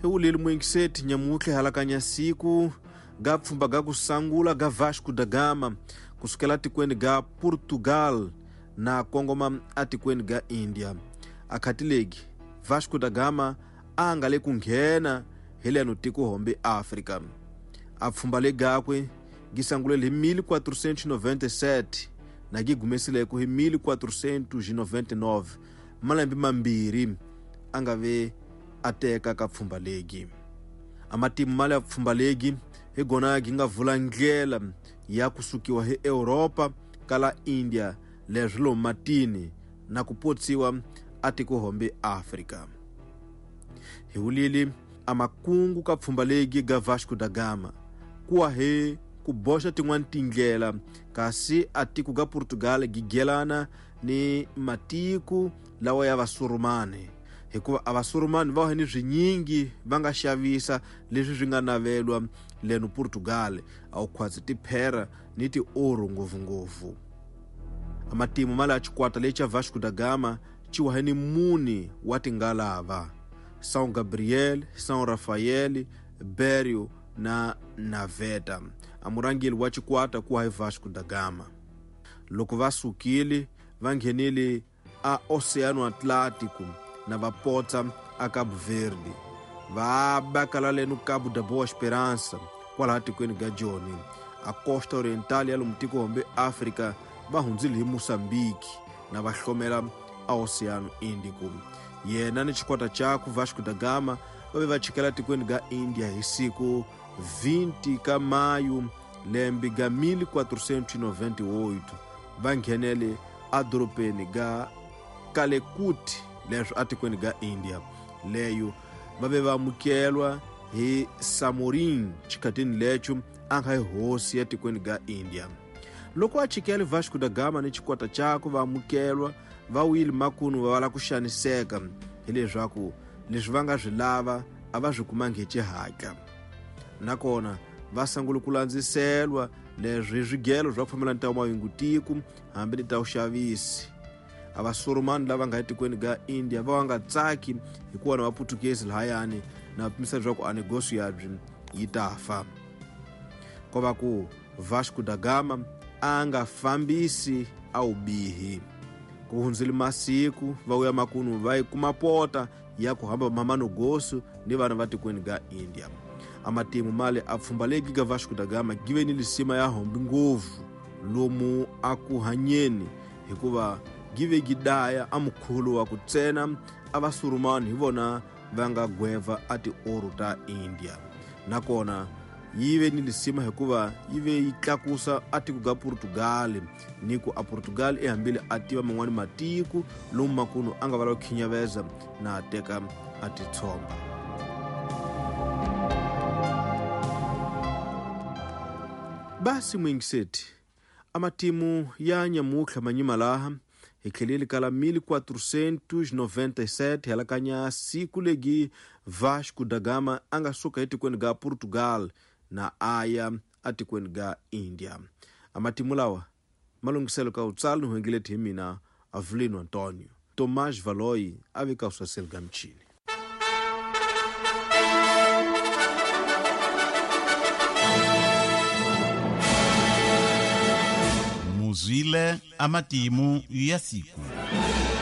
Hi wuleli muingiseti nyamutlhe halakanya siku ga pfhumba ga kusangula ga Vasco da Gama kusukela tikweni ga Portugal na kongoma atikweni ga India. Akhatilegi Vasco da Gama a nga le ku nghena hi leno tiko hombe Afrika. A pfhumba le gakwe gi sangulele hi 1497 na gi gumesileko hi 1499, malembe mambirhi a nga ve a teka ka pfhumba legi. A matimu male ya pfhumba legi hi gona gi nga vula ndlela ya kusukiwa hi Europa kala India leswi lomu matini na ku potsiwa a tiko hombe Afrika. Hi wulili a makungu ka pfhumba legi ga Vasco da Gama kuwa hi ku boxa tin'wana tindlela, kasi a tiko ga Portugal gigelana ni matiko lawa ya vasurumani, hikuva a vasurumani va wa ni swinyingi va nga xavisa leswi swi nga navelwa leno Portugal, a wu khwatsi tiphera ni tioro ngopfungopfu. A matimu ma la xikwata lexi xa Vasco da Gama xi wa hi ni mune wa tingalava: São Gabriel, São Rafael, Berio na Naveta. A murhangeri wa xikwata ku wa hi Vasco da Gama. Loko va sukile va nghenile a Oceano Atlântico na va potsa a Cabo Verde, va bakala leno Cabo da Boa Esperança kwalaha tikweni ga Joni. A Costa Oriental ya lomu tiko hombe Afrika va hundzile hi Mozambique na va hlomela a Oceano Índico. Yena ni xikwata xakwe Vasco da Gama va ve va chikela tikweni ga India hi siku 20 ka Mayu lembe ga 1498, va nghenele a dorobeni ga Calicut leswi atikweni ga India. Leyo va ve va amukelwa hi Samorin xikhatini lexo a nga hi hosi ya tikweni ga India. Loko a chikele Vasco da Gama ni xikwata xakwe va amukelwa, va wile makunu va la ku xaniseka hileswaku leswi va nga swi lava a va swi kumangi hi xihatla. Nakona va sungule ku landziselwa leswi swigelo swa ku fambelana ta mahungutiko hambi ni ta vuxavisi. A vasurumani lava nga etikweni ga India va nga tsaki hikuva na vaputukezi lahayani na pimisa leswaku a negosi yabyi yi ta fa. Ko va ku Vasco da Gama a nga fambisi a wubihi. Ku hundzile masiku va vuya makunu va yi kuma pota ya ku hamba mamanogosu ni vana va tikweni ga India. A matimu male a pfhumba legi ga Vasco da Gama give ni lisima ya hombi ngopfu lomu a ku hanyeni, hikuva give gidaya a mukhulu wa ku tsena a vasurumani hi vona va nga gweva a tioro ta India. Nakona yi ve ni lisima hikuva yi ve yi tlakusa a tiko ga Portugal, ni ku a Portugal e hambile a tiva man'wani matiko lomu makunu a nga va la ku khinyaveza na teka a titshomba. Basi muingiseti, a matimu ya nyamutlha manyima laha hi tlheleli kala 1497 halakanya siku legi Vasco da Gama a nga suka etikweni ga Portugal na aya atikweni ga India. A matimu lawa malunghiselo ka utsali ni huengeleti hi mina Avelino Antonio. Tomás Valoi a vika usaseli ga michini. Muzwile amatimu ya siku.